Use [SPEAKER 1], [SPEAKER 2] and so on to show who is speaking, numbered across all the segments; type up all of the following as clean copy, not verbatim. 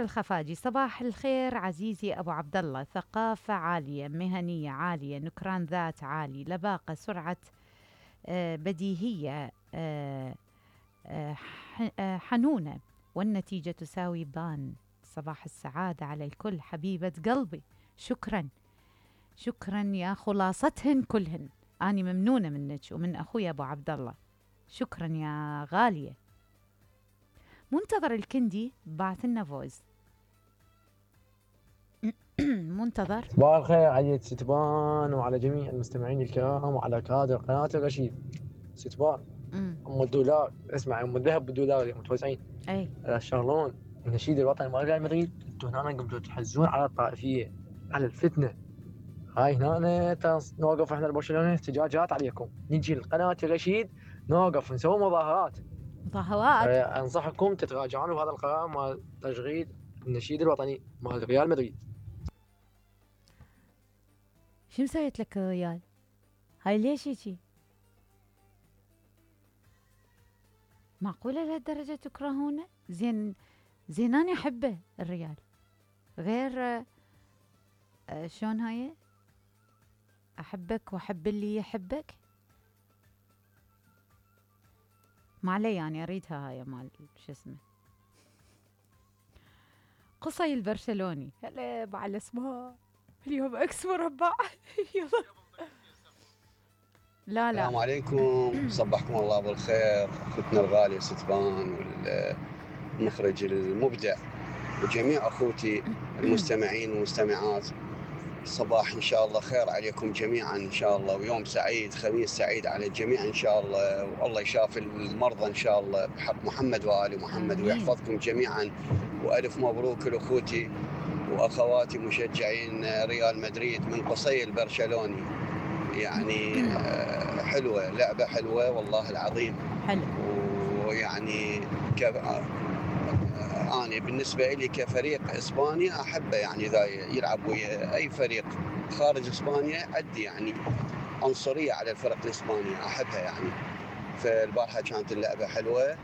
[SPEAKER 1] الخفاجي: صباح الخير عزيزي أبو عبد الله، ثقافة عالية، مهنية عالية، نكران ذات عالي، لباقة، سرعة، بديهية، حنونة، والنتيجة تساوي بان. صباح السعادة على الكل حبيبة قلبي. شكرا شكرا يا خلاصتهن كلهن. أنا ممنونة منك ومن أخوي أبو عبد الله. شكرا يا غالية. منتظر الكندي بعث لنا فويس. منتظر.
[SPEAKER 2] صباح الخير على ستبان وعلى جميع المستمعين الكرام وعلى كادر قناة الرشيد. ستبان ام الدولار، اسمع، ام الذهب بالدولار متوزعين.
[SPEAKER 1] اي
[SPEAKER 2] شغلون النشيد الوطني مال ريال مدريد، انتم هنا قمتوا تحزون على الطائفية، على الفتنة. هاي هنا نوقف احنا البرشلونة احتجاجات عليكم، نجي لقناة الرشيد نوقف نسوي مظاهرات. انصحكم تتراجعون بهذا القرار مال تشغيل النشيد الوطني مال ريال مدريد.
[SPEAKER 1] شو مسويت لك الريال؟ هاي ليش هيجي؟ معقولة لهالدرجة تكرهونه؟ زين أنا أحبه الريال، غير شلون هاي؟ أحبك وأحب اللي يحبك. ما علي، يعني أريدها هاي مال شو اسمه قصي البرشلوني. هلا مع الأسماء اليوم اكس مربع. يلا لا
[SPEAKER 3] السلام عليكم، صبحكم الله بالخير اخوتنا الغاليه ستبان والمخرج المبدع وجميع اخوتي المستمعين والمستمعات. صباح ان شاء الله خير عليكم جميعا ان شاء الله، ويوم سعيد، خميس سعيد على الجميع ان شاء الله، والله يشافي المرضى ان شاء الله بحق محمد وآل محمد ويحفظكم جميعا. والف مبروك لاخوتي واخواتي مشجعين ريال مدريد من قصي البرشلوني. يعني حلوة، لعبة حلوة والله العظيم.
[SPEAKER 1] حلو.
[SPEAKER 3] ويعني أنا بالنسبة لي كفريق إسبانيا أحبه، يعني إذا يلعب ويا أي فريق خارج إسبانيا عندي يعني عنصرية على الفرق الإسبانية، أحبها يعني. فالبارحة كانت اللعبة حلوة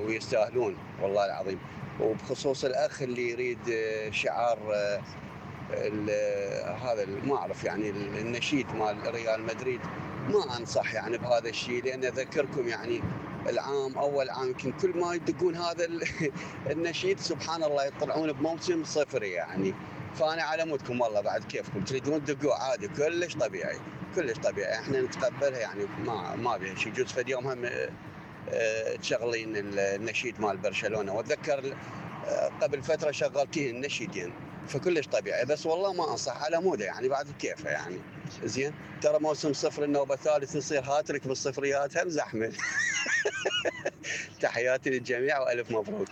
[SPEAKER 3] ويستاهلون والله العظيم. وبخصوص الأخ اللي يريد شعار هذا ما اعرف يعني النشيد مال ريال مدريد، ما انصح يعني بهذا الشيء، لان اذكركم يعني اول عام يمكن كل ما يدقون هذا النشيد سبحان الله يطلعون بموسم صفري يعني. فانا على مودكم والله، بعد كيفكم تريدون تدقوا عادي، كلش طبيعي كلش طبيعي، احنا نتقبلها يعني، ما بيها شيء. يجوز فد يوم هم تشغلين النشيد مال برشلونه، واتذكر قبل فتره شغلتين النشيدين، فكلش طبيعي. بس والله ما انصح على موده يعني، بعد كيفه يعني. زين ترى موسم صفر النوبه الثالث يصير هاتريك بالصفريات هم زحمه. تحياتي للجميع والف مبروك.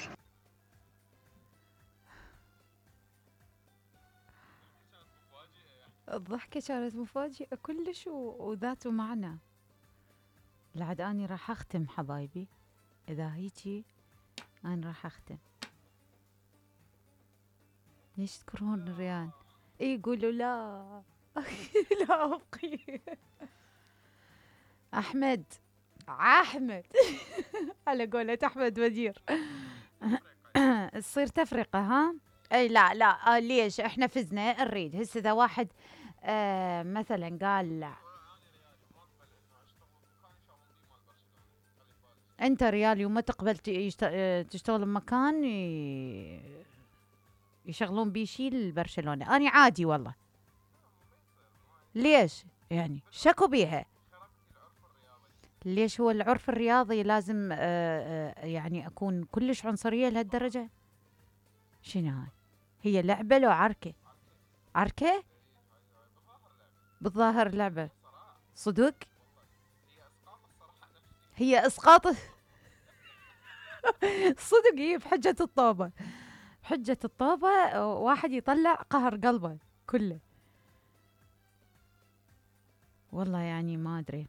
[SPEAKER 1] الضحكة كانت مفاجئة كلش وذات معنى. لعد اني راح اختم حبايبي، اذا هيجي انا راح اختم. ليش تكرهون الريال؟ يقولوا لا. لا ابقي. احمد على قولة احمد وزير. تصير تفرقة ها؟ اي لا ليش احنا فزنا نريد هسه اذا واحد مثلا قال لا. انت ريالي وما تقبل تشتغل بمكان يشغلون بيه شي لبرشلونة، اني عادي والله. ليش يعني شكوا بيها؟ ليش هو العرف الرياضي لازم يعني اكون كلش عنصرية لهالدرجة؟ شنو هاي؟ هي لعبة لو عركة بالظاهر لعبة صدق. هي اسقاط. صدق هي بحجة الطوبة واحد يطلع قهر قلبه كله. والله يعني ما ادري.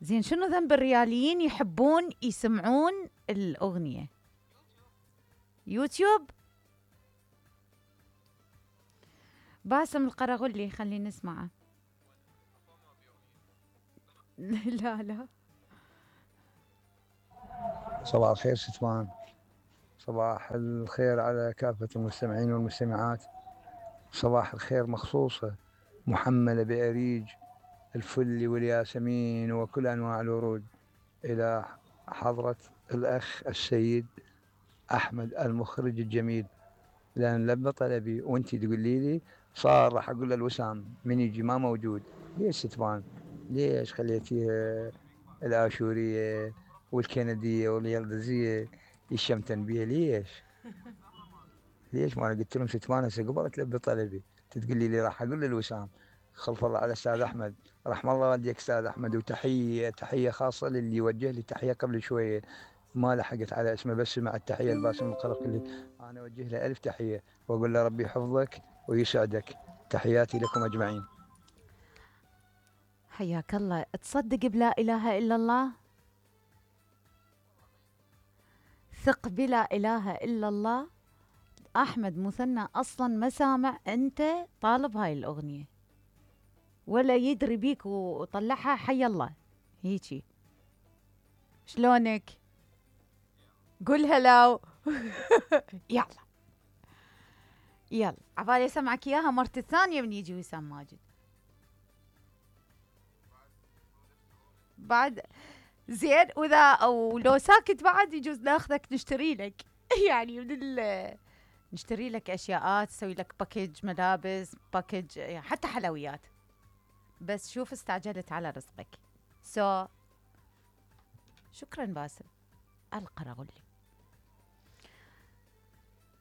[SPEAKER 1] زين شنو ذنب الرياليين يحبون يسمعون الأغنية؟ يوتيوب. باسم القرغلي خلينا نسمعه. لا
[SPEAKER 4] صباح الخير ستوان، صباح الخير على كافة المستمعين والمستمعات. صباح الخير مخصوصة محملة بأريج الفل والياسمين وكل أنواع الورود إلى حضرة الأخ السيد أحمد المخرج الجميل، لأن لبى طلبي وأنتي تقولي لي صار راح أقول للوسام من يجي ما موجود. ليش ستبان؟ ليش خليتيها الآشورية والكندية واليلدزية يشمتن بيها؟ ليش ما قلت لهم ستبان هسه قبل تلبي طلبي تقولي لي راح أقول للوسام. خلف الله على أستاذ أحمد، رحم الله والديك أستاذ أحمد، وتحية خاصة للي وجه لي تحية قبل شوية ما لحقت على اسمه، بس مع التحية الباسم القرقلي أنا أوجه له ألف تحية وأقول له ربي يحفظك ويسعدك. تحياتي لكم أجمعين.
[SPEAKER 1] حياك الله. تصدق بلا إله إلا الله؟ ثق بلا إله إلا الله. أحمد مثنى أصلا ما سامع أنت طالب هاي الأغنية ولا يدري بيك وطلعها. حي الله هيجي. شلونك؟ قول هلاو. يلا يلا عبالي اسمعك اياها مرة الثانية من يجي وسام ماجد. بعد زين، واذا او لو ساكت بعد يجوز ناخذك نشتري لك يعني نشتري لك اشياء، تسوي لك باكج ملابس، باكج يعني حتى حلويات. بس شوف استعجلت على رزقك. شكرا باسل القرغلي.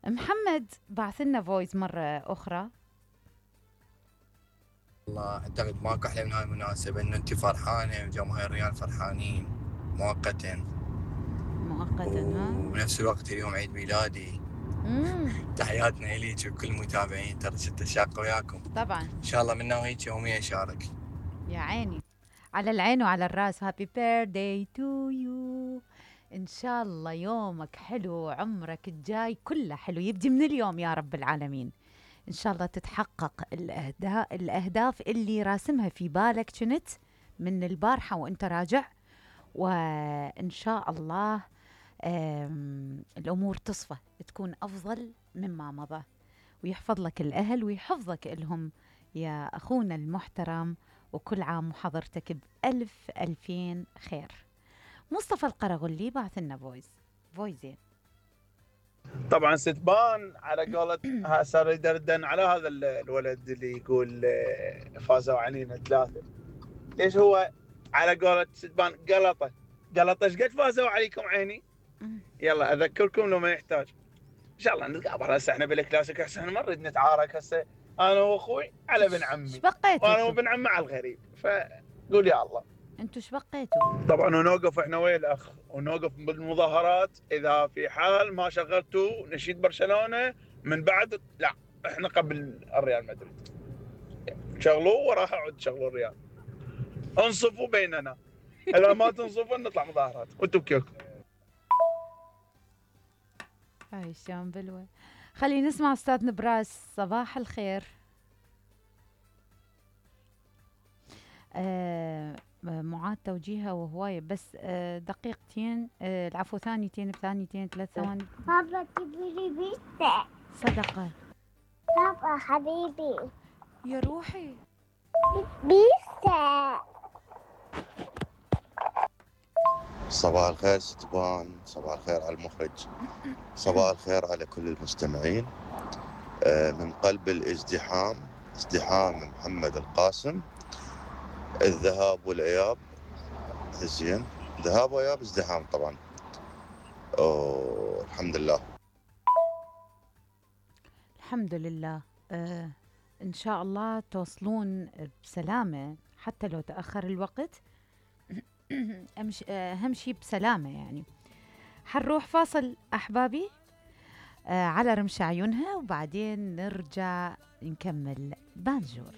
[SPEAKER 1] محمد بعث لنا فويس مرة أخرى.
[SPEAKER 5] والله أعتقد ماكو أحلى من هاي المناسبة إنه أنت فرحانة وجماهير الريال فرحانين مؤقتا
[SPEAKER 1] ها؟
[SPEAKER 5] وبنفس الوقت اليوم عيد ميلادي. تحياتنا إليك وكل المتابعين، ترى ستة شاقة وياكم
[SPEAKER 1] طبعا.
[SPEAKER 5] إن شاء الله منا وهيك يوميا أشارك.
[SPEAKER 1] يا عيني على العين وعلى الراس. هابي بيرثداي تو يو. إن شاء الله يومك حلو، عمرك الجاي كله حلو، يبدي من اليوم يا رب العالمين. إن شاء الله تتحقق الأهداف اللي راسمها في بالك كنت من البارحة وإنت راجع، وإن شاء الله الأمور تصفى تكون أفضل مما مضى، ويحفظ لك الأهل ويحفظك إلهم يا أخونا المحترم، وكل عام وحضرتك بألف ألفين خير. مصطفى القرغلي بعث لنا فويزين.
[SPEAKER 6] طبعا ستبان على قولة صار يدردن على هذا الولد اللي يقول فازوا علينا 3. ليش هو على قولة ستبان قلطه ايش قد فازوا عليكم عيني؟ يلا اذكركم لو ما يحتاج. ان شاء الله نتقابل هسه احنا بالكلاسيك، هسه ما نريد نتعارك هسه انا واخوي على ابن عمي، وانا وابن عمي على الغريب، فقول يا الله.
[SPEAKER 1] انتوا ايش بقيتوا؟
[SPEAKER 6] طبعا ونوقف احنا ويا الاخ ونوقف بالمظاهرات اذا في حال ما شغلتوا نشيد برشلونه من بعد. لا احنا قبل الريال مدريد شغلوه وراح اعود شغلوا الريال. انصفوا بيننا، اذا ما تنصفوا نطلع مظاهرات وانتم بكيفكم.
[SPEAKER 1] هاي الشام بلوى. خلينا نسمع استاذ نبراس. صباح الخير. معاد توجيهها وهواية، بس دقيقتين، العفو ثانيتين بثانيتين 3 ثواني.
[SPEAKER 7] بابا تبي بيتزا.
[SPEAKER 1] صدقة
[SPEAKER 7] بابا حبيبي
[SPEAKER 1] يا روحي
[SPEAKER 7] بيتزا.
[SPEAKER 8] صباح الخير ستبان، صباح الخير على المخرج، صباح الخير على كل المستمعين. من قلب الازدحام، ازدحام محمد القاسم، الذهاب والإياب. زين، ذهاب وإياب ازدحام طبعا. الحمد لله.
[SPEAKER 1] الحمد لله. إن شاء الله توصلون بسلامة، حتى لو تأخر الوقت أهم شي بسلامة يعني. حنروح فاصل أحبابي على رمش عيونها، وبعدين نرجع نكمل بانجور.